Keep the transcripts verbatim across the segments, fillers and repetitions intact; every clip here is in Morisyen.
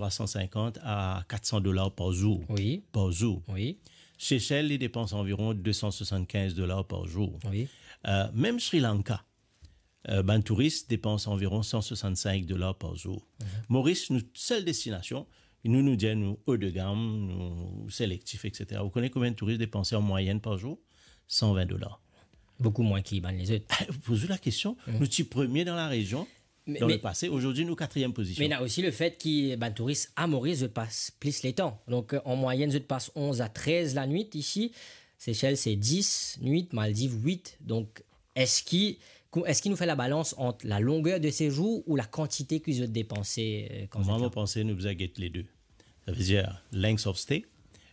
trwa san sinkant a kat san dolar par zour. Wi. Par zour. Wi. Sesel, li depans anviron de san swasannkinz dolar par zour. Wi. Euh, mem Sri Lanka, euh, bann touris depans anviron san swasannsink dolar par zour. Mhm. Moris, nou sel destinasion, nou, nou dir nou o de gam, nou selektif, et cetera. Ou kone konbien touris depanse an mwayenn par zour? San vin dolar. Boukou mwin ki bann lezot. Poz ou lakestion, mhm, nou ti premie dan larezion, me, dan me, lepase, azordi nou katriem pozision. Me ena osi lefet ki bann touris a Moris, zot pas plis letan. Donk, euh, an mwayenn, zot pas onz a trez lanwit isi. Sesel, se dis nwit, Maldiv, wit. Donk, eski, kou-, eski nou fer labalans ant lalongeur de sezour ou lakantite ki zot depanse, euh, kan zot la? Mwa, mo panse nou bizin get lede. Savedir length of stay,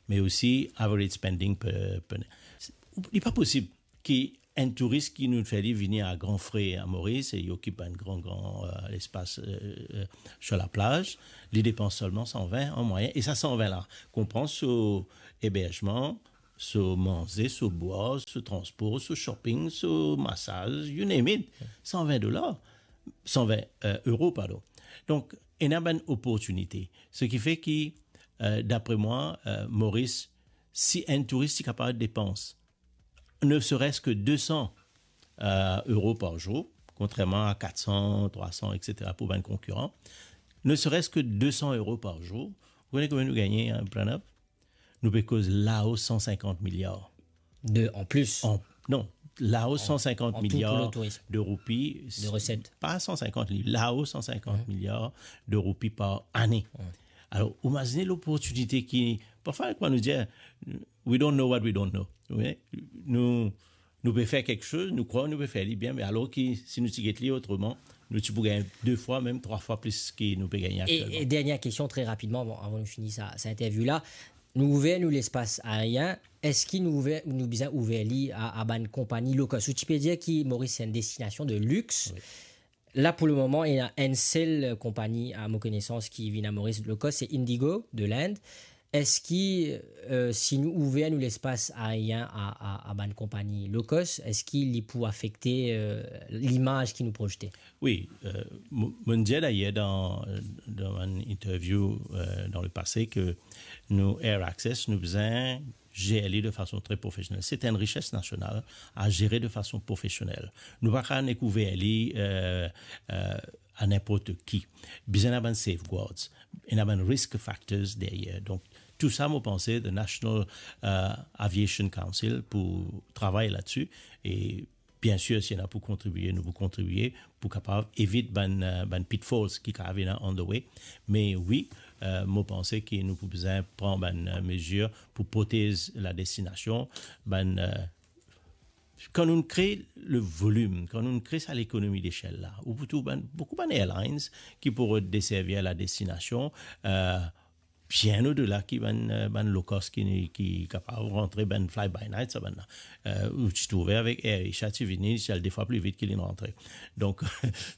me osi average spending per, per night. Li pa posib ki enn touris ki nou fer li vini a gran fre a Moris e li okip bann gran, gran, euh, lespas, euh, euh, sur laplaz, li depans selman san vin an mwayenn. E sa san vin la, konpran so eberzman, so manze, so bwar, so transpor, so shopping, so masaz, you name it, san vin dolar, san vin, euh, euro, pardon. Donk, ena bann oportinite. Seki fer ki, euh, dapre mwa, euh, Moris, si enn touris ti kapav depans ne serait-ce que de san, euh, euro par zour, kontrerman a kat san, trwa san, et cetera pou bann konkiran, ne serait-ce que de san euro par zour, ou kone konbien nou gagne, hein, Pranav? Nou pe koz lao san sinkant miliar. De, an plis. An, non, lao an, san sinkant miliar de roupi, de reset. Pa san sinkant li-, lao san sinkant miliar de roupi par ane. Mhm. Alor, imazine loportinite ki, parfwa, kouma nou dir, we don't know what we don't know. Wi, nou, nou pe fer kiksoz, nou krwar nou pe fer li bien, me alor ki, si nou ti get li otreman, nou ti pou gagn de fwa, mem trwa fwa plis ki nou pe gagne aktielman. E, e dernie kestion, tre rapidman, avan, avan nou fini sa, sa interview la. Nou ouver nou lespas aerien, eski nou ouver, nou bizin ouver li a, a bann konpagni low cost? Ou ti pe dir ki Moris se enn destinasion de lix. Wi. La, pou lemoman, ena enn sel konpagni, a mo konesans, ki vinn a Moris low cost, se Indigo, de Lind. Eski, euh, si nou ouver nou lespas aerien a, a, a bann konpagni low cost, eski li pou afekte, euh, limaz ki nou prozte? Wi, euh, mo, mo'nn dir dayer dan, dan enn interview, euh, dan lepase ke nou Air Access, nou bizin zer li de fason tre profesionel. Se enn rises nasional a zere de fason profesionel. Nou pa kapav nek ouver li, euh, euh, a ninport ki. Bizin ena bann safeguards, ena bann risk factors deryer. Donk, tou sa, mo panse, the National, euh, Aviation Council pou travay ladsi. E biensir, si ena pou kontribie, nou pou kontribie pou kapav evit bann, euh, bann pitfalls ki kapav vinn on the way. Me wi, euh, mo panse ki nou pou bizin pran bann, euh, mezir pou protez ladestinasion, bann, euh, kan nou kre le volim, kan nou kre sa lekonomi desel la, ou pou trouv bann, boukou bann airlines ki pou rod deservi ladestinasion, euh, bien odela ki bann, euh, bann low cost ki, ki kapav rantre, bann fly by night, sa bann la. Euh, ou ti trouve avek Air Asia, ti vini, ti al de fwa pli vit ki linn rantre. Donk,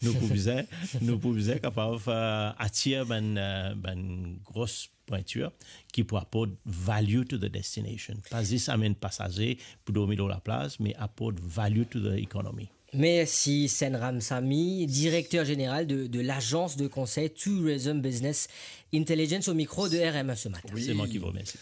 nou pou bizin, nou pou bizin kapav, euh, atir bann, euh, bann gros pwintir ki pou aport value to the destination. Pa zis amenn pasaze pou dormi lor laplaz, me aport value to the economy. Mersi Senram Sami, direkter zeneral de, de lagans de konsey Tourism Business Intelligence, au micro de R M A ce matin. Wi. Se mwa ki remersi.